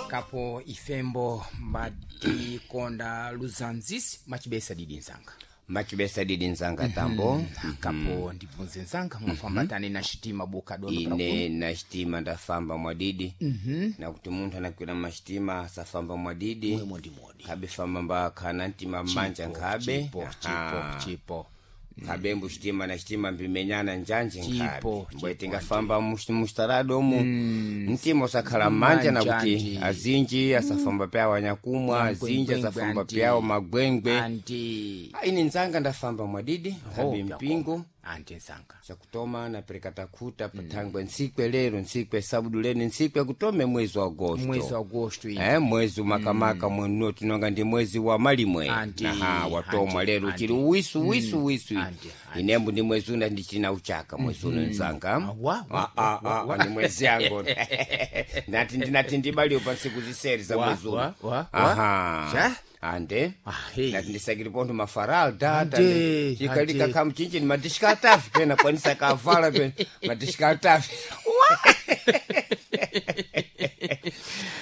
Kapo ifembo mbatikonda luzanzisi machibesa didi nzanga. Machibesa didi nzanga tambo. Kapo ndibvunze nzanga, mwafambatane na xitima buka dondo? Ine na xitima ndafamba mwadidi, nakuti munthu anakwira maxitima asafamba mwadidi. Mwemondimodi. Khabe famba mbakhana mtima mmanja nkhabe. Chipo chipo chipo. Khabe mbu xitima na xitima mbimenyana njanje nkhabe. Chipo, mbwe chipo, tingafamba mustarado omu mtima usakhala mmanja, nakuti Manja, azinji asafamba pyawo anyakumwa, azinji Magwengwe, asafamba anti. pyawo magwengwe. Anti. Ine nzanga ndafamba mwadidi khabe Oh, mpingo. Anti nzanga. Chakutoma napereka takhuta pathangwe ntsikwe lero, ntsikwe sabudu lene, ntsikwe kutome mwezi wa agosto. Mwezi wa agosto iyi. Mwezi umakamaka mwenu tinonga ndi mwezi wa malimwe. Anti, Naha watomwa anti, lero anti. chili uwisu uwisu uwisu. Anti, anti. Inembu ndi mwezi una ndichina uchaka mwezi uno nzanga. Wa, wa, Ah, ah, ah, ndi mwezi yango nati ndinati ndibaliwe pa ntsiku ziseri za Wa, mwezi uno. wa, wa, wa. Aha. Cha? Ande. Ah, hey. Nati ndisakiri pontho mafaralda. Ande, Chikalika ande. khamu chinchi ni madishika atafi pena kwanisa kavala pena madishika atafi.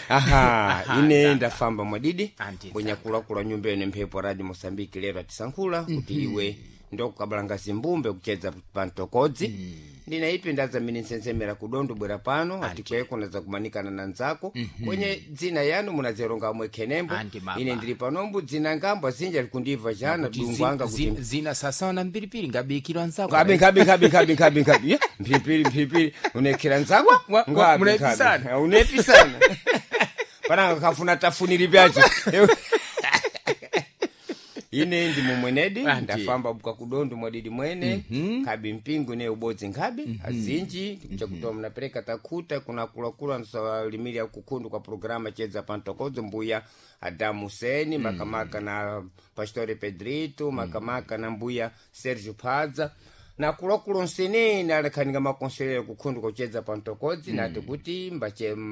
Aha, ine ndafamba mwadidi. Anti. Mbwenyakulakula nyumba ene mphepo radio Mosambiki lero atisankhula kuti iwe ndokukabalanga zimbumbe kuchedza pantokodzi. Ndina ipi ndadzamene nsenzemera kudondo bwera pano atikweko nadza kumanikana na nzako kwenye dzina yanu munazeronga amwe khenembo. Anti mama. Ine ndili panombu dzina ngambo azinja likundibva jana Kuti dungu anga kuti zina sasawa na mbiripiri ngabikirwa nzako. Ngabe ngabe ngabe ngabe ngabe ngabe. Ya, mphipiri mphipiri unekhera nzakwa. Wa- wa- Ngabe, munepisana. ngabe. Unepisana pananga kafuna tafuniri pyacho. Ine ndi mumwenedi. Anti. Ndafamba buka kudondo mwadidi mwene khabi mpingo ne ubodzi nkhabe azinji chakutoma napereka takhuta kuna kulakula nsalimiri akukhundu kwa programa chedza pantokodzo mbuya Adamu Seni makamaka na Pastore Pedrito makamaka na mbuya Sergio Padza na kulakula nsenene alekhaninga makonselero kukhundu kuchedza pantokodzi nati kuti mbache.